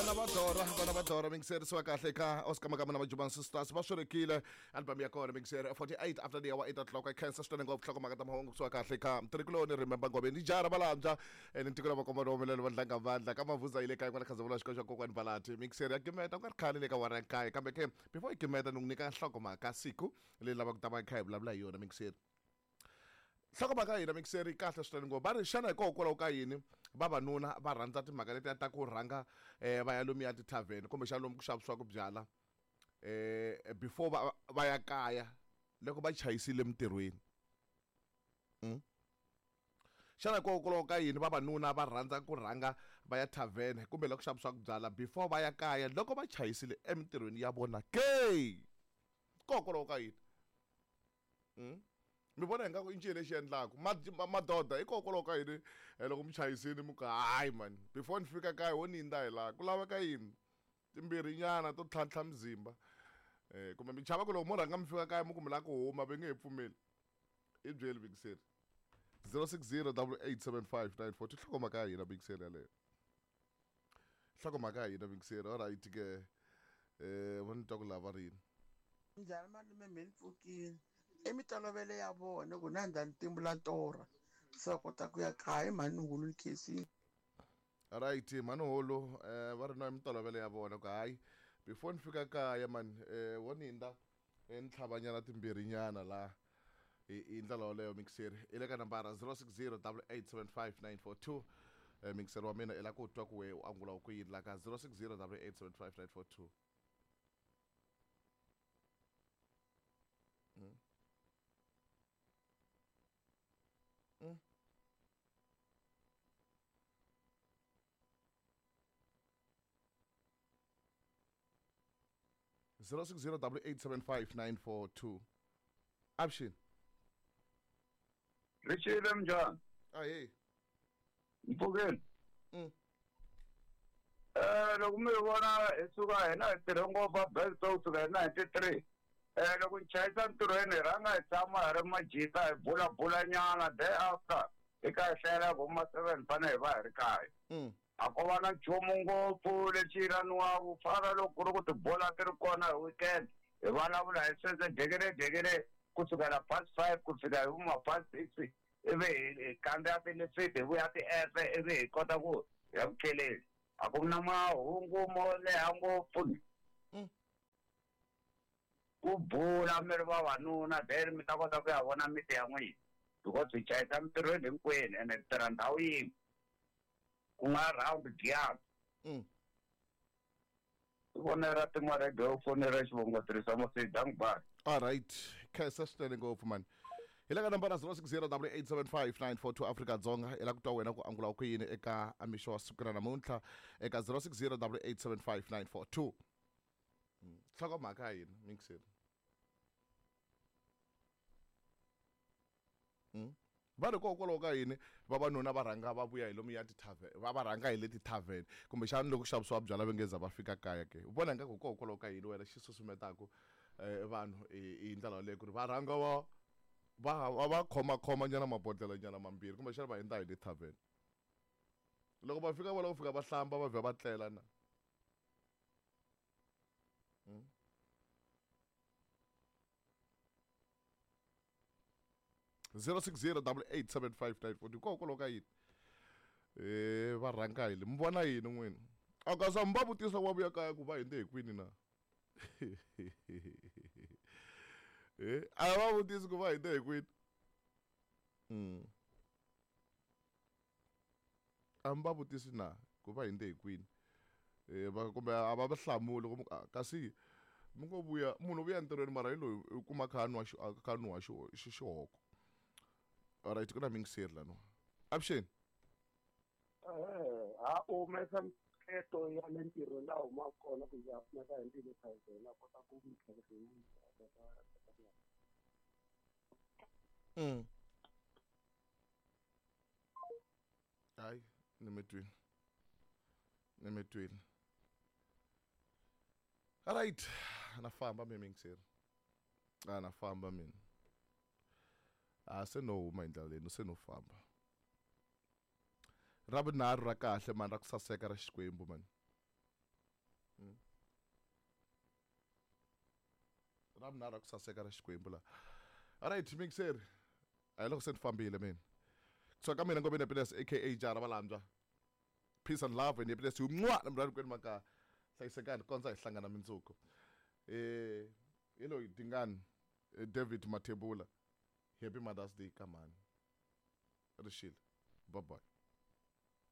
Vana va Dora, vana va Dora, mingiserisiwa kahle ka Oscar Makama na Majuban Sisters va swirekile album ya kona mingiseri 48 after the hour 8 o'clock. I khensa swinene ngopfu nhlokomhaka ta mahungu kusuka kahle ka Mtirhikuloni Remember Ngobeni jara valambya ene ntiko la vakomba humelelo va ndlanga vandla ka mavuza yi le kaya kwala Khazamula xikolo xa kokwani Valati mingiseri ya gimeta ku nga ri khale le ka wara ya nkaye kambe ke before yi gimeta ni ku nyika nhlokomhaka siku leyi lavaka ku ta va kha hi vulavula hi yona mingiseri. Nhlokomhaka ya hina mixeri yi kahle swinene ngopfu. Va ri xana hikokwalaho ka yini vavanuna va rhandza timhaka letiya ta ku rhanga va ya lomuya tithavheni kumbexana lomu ku xavisiwaka byala before va va ya kaya loko va chayisile emintirhweni? Xana hikokwalaho ka yini vavanuna va rhandza ku rhanga va ya thavhene kumbe la ku xavisiwaka byala before va ya kaya loko va chayisile emintirhweni ya vona ke? Hikokwalaho ka yini? Mi vona ingaku i ncini lexi endlaku madoda hikokwalaho ka yini loko mi chayisini mi ku hayi mani before ni fika kaya ho ni yindza hi laha ku laveka yini timbirhi nyana to tlhantlha muzimba kumbe mi chava ku loko mo rhanga mi fika kaya mi ku mi lava ku huma va nge he pfumeli i byeli bingiseri 060 8875942 nhlokomhaka ya hina bingiseri yaleyo nhlokomhaka ya hina bingiseri alright ke va ni twa ku lava rini. Njhani malume me ni pfukile i mitolovelo ya vona ku na ndza ni timbula torha se va kota ku ya kaya i mhani hulu ni khensile. Right mhani hulu va ri no i mitolovelo ya vona ku hayi before ni fika kaya mani wo ni hindza ni tlhava nyana timbirhi nyana la hi ndlela yoleyo mixeri i le ka nambara 060 887 5942 mixeri wa mina i la ku twa ku we u angula ku yini la ka 060 887 5942. 060 887 5942. Avuxeni. Richile minjhani? Ahee. Mpfukeni. Loko mi vona hi suka hina hi tirhe ngopfu a Belto kusuka hi 93. Loko ni chayisa ntirhweni hi rhanga hi tshama hi ri majita hi bulabula nyana day after hi ka hi hlayela ku ma 7 fanele hi va hi ri kaya. A ko va na nchumu ngopfu lexi yiraniwaka ku fana loko ku ri ku tibola ti ri kona hi weekend hi vulavula hi sweswo dekele dekele kusukela past 5 ku fika hi vuma past 6 ivi hi kandziya tilifiti hi vuya ti-efe ivi hi kota ku ya ku tleleni. A ku na mahungu mo leha ngopfu. Ku bula mi ri vavanuna then mi ta kota ku ya vona miti ya n'wina because hi chayisa mintirhweni hinkwenu ene hi tirha ndhawu yin'we ku nga round Giyani. Fonela Tima Radio, fonela xivongo tirhisa mosidi dank bye. All right khensa swinene ngopfu mani. Hi le ka nambara 060 887 5942 Afrika Dzonga i la ku twa wena ku angula ku yini eka mixo wa siku ra namuntlha eka 060 887 5942. Nhlokomhaka ya hina mixeri. Va ri kokwalaho ka yini vavanuna va rhanga va vuya hi lomu ya tithavheni va va rhanga hi le tithavheni kumbexana loko xavisiwa byala va nge za va fika kaya ke u vona ingaku hikokwalaho ka yini wena xi susumetaka vanhu hi ndlela yaleyo ku ri va rhanga va va va va khomakhoma nyana mabodlhela nyana mambirhi kumbexana va hundza hi le thavheni loko va fika va lava ku fika va hlamba va vhela va tlela na. 060 887 5942 hikokwalaho ka yini va rhanga hi le mi vona yini n'wina a ka mi va vutisa va vuya kaya ku va hindze hi kwini na a va vutisi ku va hindze hi kwini. A mi va vutisi na ku va hindze hi kwini va kumbe a va va hlamuli ku kasi mi ngo vuya munhu u vuya entirhweni mara hi loyi u kuma kha nwa kha nwa xihoko. Alright ku na mingiseri laniwa. Avuxeni. Ha u humesa miehleketo ya le ntirhweni laha humaka kona ku ya pfuneka hi ndile thavheni a kota ku mitlhelo yi Hayi ni mi twile. Ni mi twile. Alright na famba mi mingiseri. A na famba mina. A se no huma hi ndlela leyi no se no famba. Ra vunharhu ra kahle mani ra ku saseka ra Xikwembu mani. Ravunharhu a ku saseka ra Xikwembu laha. Alright, mixer. A hi loko se ni fambile mina. Kusuka ka mina Ngobeni Happiness aka Jara Valandzwa. Peace and love and happiness. Mwa na mrari kwenu maka. Hlayisekani kondza hi hlangana mindzuku. Hi loyi Dingani David Mathebula. Happy Mother's Day ka mhani. Rixile. Bye bye.